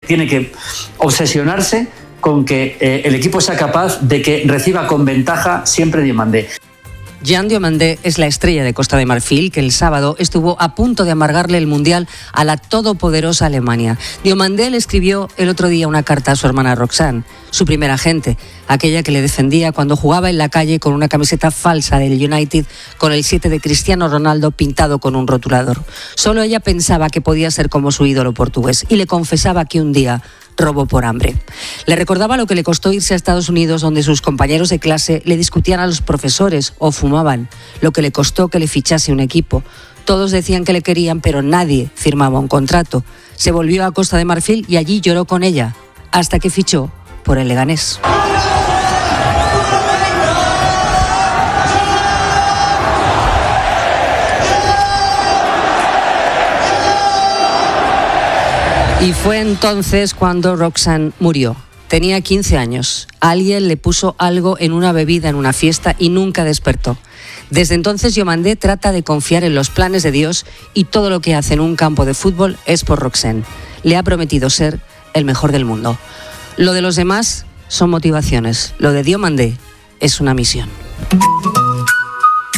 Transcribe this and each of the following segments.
tiene que obsesionarse con que el equipo sea capaz de que reciba con ventaja siempre Diomandé. Jean Diomandé es la estrella de Costa de Marfil que el sábado estuvo a punto de amargarle el Mundial a la todopoderosa Alemania. Diomandé le escribió el otro día una carta a su hermana Roxane, su primera agente, aquella que le defendía cuando jugaba en la calle con una camiseta falsa del United con el 7 de Cristiano Ronaldo pintado con un rotulador. Solo ella pensaba que podía ser como su ídolo portugués y le confesaba que un día robó por hambre. Le recordaba lo que le costó irse a Estados Unidos, donde sus compañeros de clase le discutían a los profesores o fumaban, lo que le costó que le fichase un equipo. Todos decían que le querían, pero nadie firmaba un contrato. Se volvió a Costa de Marfil y allí lloró con ella, hasta que fichó por el Leganés. Y fue entonces cuando Roxane murió. Tenía 15 años. Alguien le puso algo en una bebida en una fiesta y nunca despertó. Desde entonces Diomandé trata de confiar en los planes de Dios y todo lo que hace en un campo de fútbol es por Roxane. Le ha prometido ser el mejor del mundo. Lo de los demás son motivaciones. Lo de Diomandé es una misión.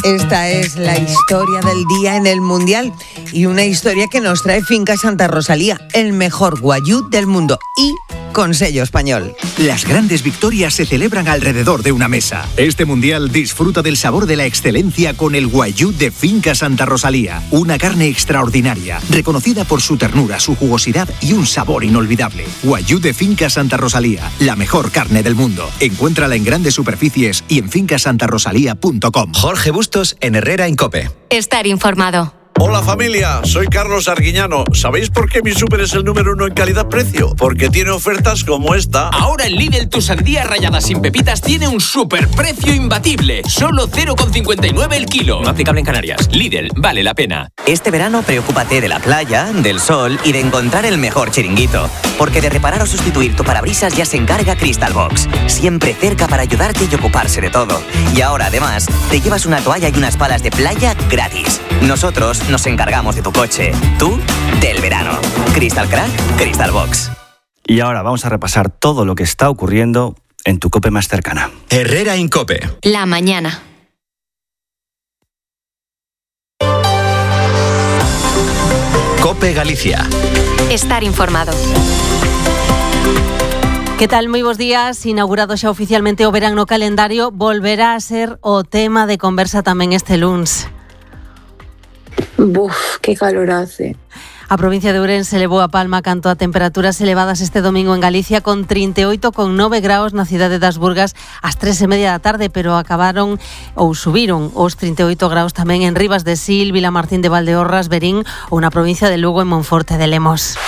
Esta es la historia del día en el Mundial y una historia que nos trae Finca Santa Rosalía, el mejor guayú del mundo y con sello español. Las grandes victorias se celebran alrededor de una mesa. Este Mundial disfruta del sabor de la excelencia con el guayú de Finca Santa Rosalía. Una carne extraordinaria, reconocida por su ternura, su jugosidad y un sabor inolvidable. Guayú de Finca Santa Rosalía, la mejor carne del mundo. Encuéntrala en grandes superficies y en fincasantarosalía.com. Jorge Bustos en Herrera en COPE. Estar informado. Hola familia, soy Carlos Arguiñano. ¿Sabéis por qué mi súper es el número 1 en calidad-precio? Porque tiene ofertas como esta. Ahora en Lidl tu sandía rallada sin pepitas tiene un superprecio imbatible. Solo 0,59 el kilo. No aplicable en Canarias. Lidl, vale la pena. Este verano preocúpate de la playa, del sol y de encontrar el mejor chiringuito. Porque de reparar o sustituir tu parabrisas ya se encarga Crystal Box. Siempre cerca para ayudarte y ocuparse de todo. Y ahora además te llevas una toalla y unas palas de playa gratis. Nosotros nos encargamos de tu coche, tú del verano. Crystal Crack, Crystal Box. Y ahora vamos a repasar todo lo que está ocurriendo en tu COPE más cercana. Herrera en COPE. La mañana. COPE Galicia. Estar informado. Que tal? Moi bons días. Inaugurado xa oficialmente o verán no calendario, volverá a ser o tema de conversa tamén este luns. Buf, que calor hace. A provincia de Ourense levou a palma canto a temperaturas elevadas este domingo en Galicia con 38,9 graus na cidade das Burgas ás 3:30 da tarde, pero acabaron ou subiron os 38 graus tamén en Rivas de Sil, Vilamartín de Valdeorras, Verín ou na provincia de Lugo en Monforte de Lemos.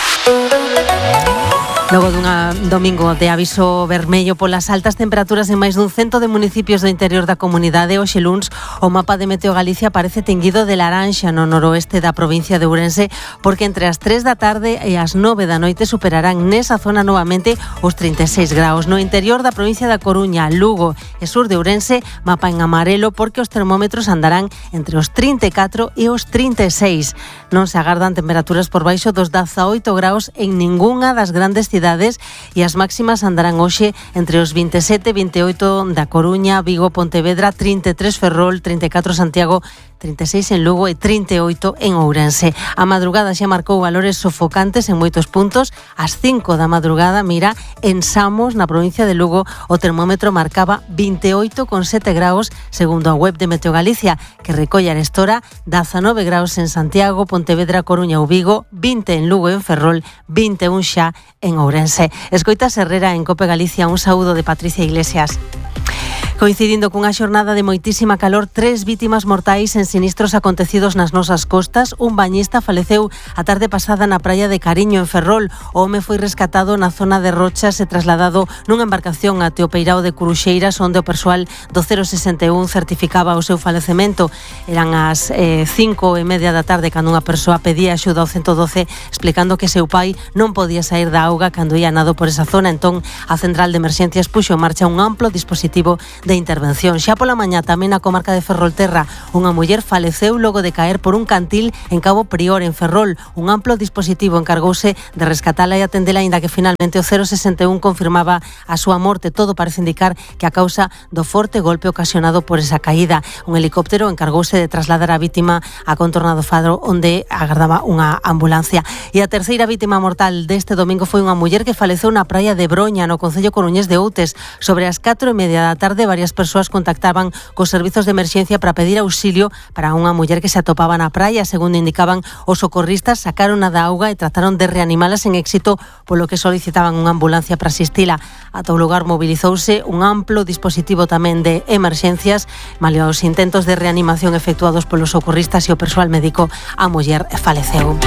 Logo dun domingo de aviso vermello polas altas temperaturas en máis dun cento de municipios do interior da comunidade, hoxe luns o mapa de Meteo Galicia parece tenguido de laranxa no noroeste da provincia de Ourense, porque entre as 3 da tarde e as 9 da noite superarán nesa zona novamente os 36 graus. No interior da provincia da Coruña, Lugo e sur de Ourense, mapa en amarelo porque os termómetros andarán entre os 34 e os 36. Non se agardan temperaturas por baixo dos 18 graus en ningunha das grandes cidades e as máximas andarán hoxe entre os 27 e 28 da Coruña, Vigo, Pontevedra, 33 Ferrol, 34 Santiago, 36 en Lugo e 38 en Ourense. A madrugada xa marcou valores sofocantes en moitos puntos. Ás 5 da madrugada, mira, en Samos, na provincia de Lugo, o termómetro marcaba 28,7 graus, segundo a web de Meteo Galicia, que recolle arestora 19 graus en Santiago, Pontevedra, Coruña ou Vigo, 20 en Lugo e en Ferrol, 21 xa en Ourense. Escoitas Herrera en COPE Galicia, un saúdo de Patricia Iglesias. Coincidindo cunha xornada de moitísima calor, 3 vítimas mortais en sinistros acontecidos nas nosas costas. Un bañista faleceu a tarde pasada na praia de Cariño, en Ferrol. O home foi rescatado na zona de Rochas e trasladado nunha embarcación até o Peirao de Curuxeiras, onde o persoal do 061 certificaba o seu falecemento. Eran as 5:30 da tarde cando unha persoa pedía axuda ao 112 explicando que seu pai non podía sair da auga cando ia nado por esa zona. Entón, a central de emerxencias puxo en marcha un amplo dispositivo de de intervención. Xa pola mañá tamén na comarca de Ferrolterra unha muller faleceu logo de caer por un cantil en Cabo Prior, en Ferrol. Un amplo dispositivo encargouse de rescatala e atendela, aínda que finalmente o 061 confirmaba a súa morte. Todo parece indicar que a causa do forte golpe ocasionado por esa caída. Un helicóptero encargouse de trasladar a vítima a contorna do Fadro, onde agardaba unha ambulancia. E a terceira vítima mortal deste domingo foi unha muller que faleceu na praia de Broña, no concello coruñés de Outes. Sobre as 4:30 da tarde, varias persoas contactaban cos servizos de emerxencia para pedir auxilio para unha muller que se atopaba na praia. Segundo indicaban os socorristas, sacaron da auga e trataron de reanimala sen éxito, polo que solicitaban unha ambulancia para asistila. Ata o lugar mobilizouse un amplo dispositivo tamén de emerxencias. Malia os intentos de reanimación efectuados polos socorristas e o persoal médico, a muller faleceu.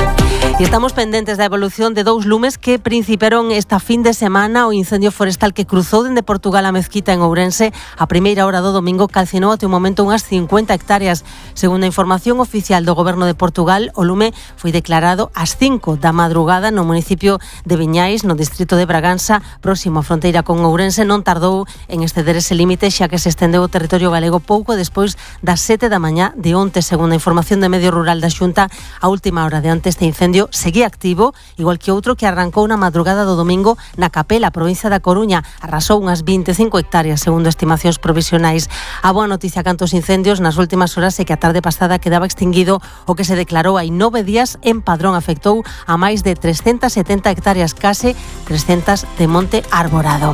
E estamos pendentes da evolución de dous lumes que principiaron esta fin de semana. O incendio forestal que cruzou dende Portugal a Mezquita, en Ourense, a primeira hora do domingo calcinou até o momento unhas 50 hectáreas. Segundo a información oficial do Goberno de Portugal, o lume foi declarado ás 5 da madrugada no municipio de Viñais, no distrito de Bragança, próximo á fronteira con Ourense. Non tardou en exceder ese límite, xa que se estendeu o territorio galego pouco despois das 7 da mañá de onte. Segundo a información de Medio Rural da Xunta, a última hora de onte este incendio seguía activo, igual que outro que arrancou na madrugada do domingo na Capela, provincia da Coruña. Arrasou unhas 25 hectáreas, segundo estimacións provisionais. A boa noticia canto aos incendios nas últimas horas é que a tarde pasada quedaba extinguido o que se declarou hai 9 días en Padrón. Afectou a máis de 370 hectáreas, case 300 de monte arborado.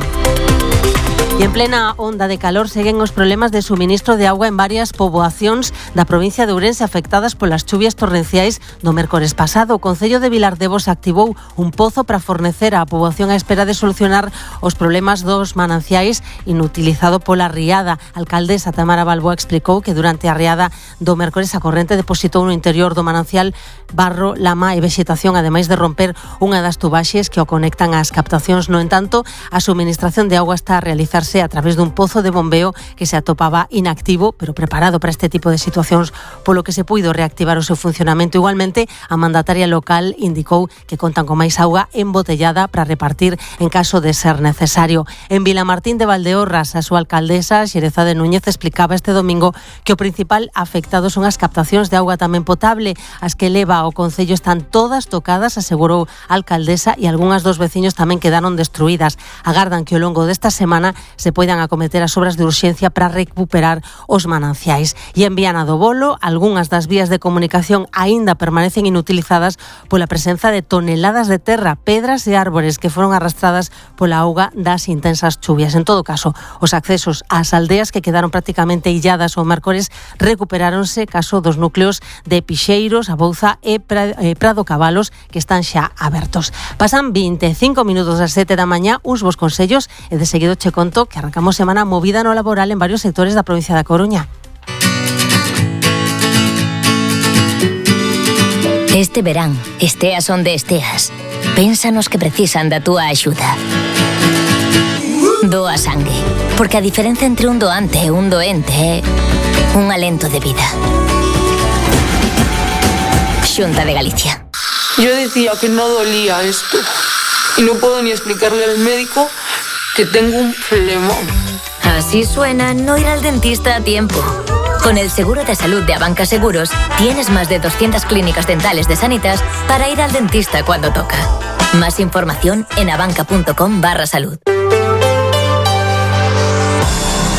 E en plena onda de calor seguen os problemas de suministro de auga en varias poboacións da provincia de Ourense afectadas polas chuvias torrenciais do mércores pasado. O Concello de Vilardevos activou un pozo para fornecer á poboación á espera de solucionar os problemas dos mananciais inutilizado pola riada. A alcaldesa Tamara Balboa explicou que durante a riada do mércores a corrente depositou no interior do manancial barro, lama e vexetación, ademais de romper unha das tubaxes que o conectan ás captacións. No entanto, a suministración de auga está a realizarse a través dun pozo de bombeo que se atopaba inactivo, pero preparado para este tipo de situacións, polo que se puido reactivar o seu funcionamento. Igualmente, a mandataria local indicou que contan con máis auga embotellada para repartir en caso de ser necesario. En Vilamartín de Valdeorras, a súa alcaldesa, Xerezade Núñez, explicaba este domingo que o principal afectado son as captacións de auga tamén potable. As que leva ao concello están todas tocadas, asegurou a alcaldesa, e algunhas dos veciños tamén quedaron destruídas. Agardan que ao longo desta semana se poidan acometer as obras de urxencia para recuperar os mananciais. E en Viana do Bolo, algunhas das vías de comunicación aínda permanecen inutilizadas pola presenza de toneladas de terra, pedras e árbores que foron arrastradas pola auga das intensas chuvias. En todo caso, os accesos ás aldeas que quedaron prácticamente illadas ao mércores recuperáronse, caso dos núcleos de Pixeiros, A Bouza e Prado Cabalos, que están xa abertos. Pasan 25 minutos das 7 da mañá, uns bos consellos, e de seguido che conto que arrancamos semana movida no laboral en varios sectores da provincia da Coruña. Este verán, esteas onde esteas, pénsanos que precisan da túa axuda. Doa sangue, porque a diferenza entre un doante e un doente é un alento de vida. Xunta de Galicia. Yo decía que no dolía esto y no puedo ni explicarle al médico que tengo un flemón. Así suena no ir al dentista a tiempo. Con el seguro de salud de Abanca Seguros, tienes más de 200 clínicas dentales de Sanitas para ir al dentista cuando toca. Más información en abanca.com/salud.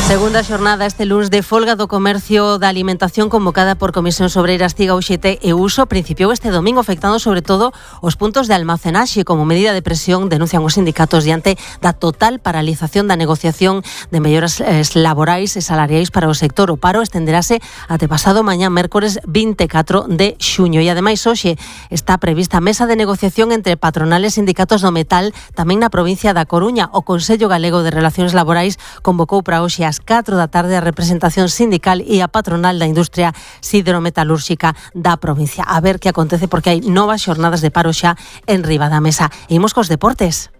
Segunda xornada este luns de folga do comercio da alimentación convocada por Comisións Obreiras, CIGA, UGT e Uso. Principiou este domingo afectando sobre todo os puntos de almacenaxe. Como medida de presión, denuncian os sindicatos diante da total paralización da negociación de melloras laborais e salariais para o sector. O paro estenderase até pasado mañá, mércores 24 de xuño. E ademais hoxe está prevista mesa de negociación entre patronales e sindicatos do metal tamén na provincia da Coruña. O Consello Galego de Relacións Laborais convocou para hoxe ás 4 da tarde a representación sindical e a patronal da industria siderometalúrxica da provincia. A ver que acontece, porque hai novas xornadas de paro xa en riba da mesa. E imos cos deportes.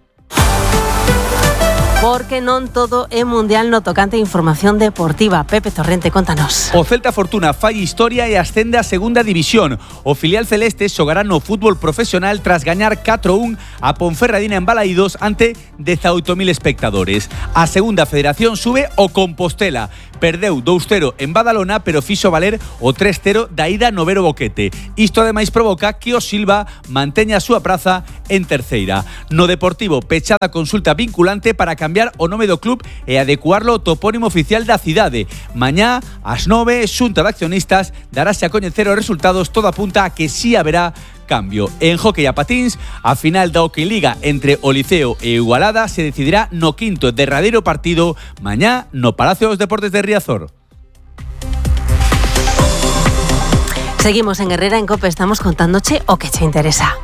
Porque non todo é mundial no tocante a información deportiva. Pepe Torrente, contanos. O Celta Fortuna fai historia e ascende a segunda división. O filial celeste xogará no fútbol profesional tras gañar 4-1 a Ponferradina en Balaídos ante 18.000 espectadores. A segunda federación sube o Compostela. Perdeu 2-0 en Badalona, pero fixo valer o 3-0 da ida no Vero Boquete. Isto ademais provoca que o Silva manteña a súa praza en terceira. No Deportivo, pechada consulta vinculante para cambiar o nome do club e adecuarlo ao topónimo oficial da cidade. Mañá, ás 9, Xunta de Accionistas darase a coñecer os resultados. Todo apunta a que sí haberá cambio. En hóquei a patíns, a final da Hockey Liga entre o Liceo e Igualada se decidirá no quinto e derradeiro partido mañá no Palacio dos Deportes de Riazor. Seguimos en Herrera en COPE, estamos contándoche o que te interesa.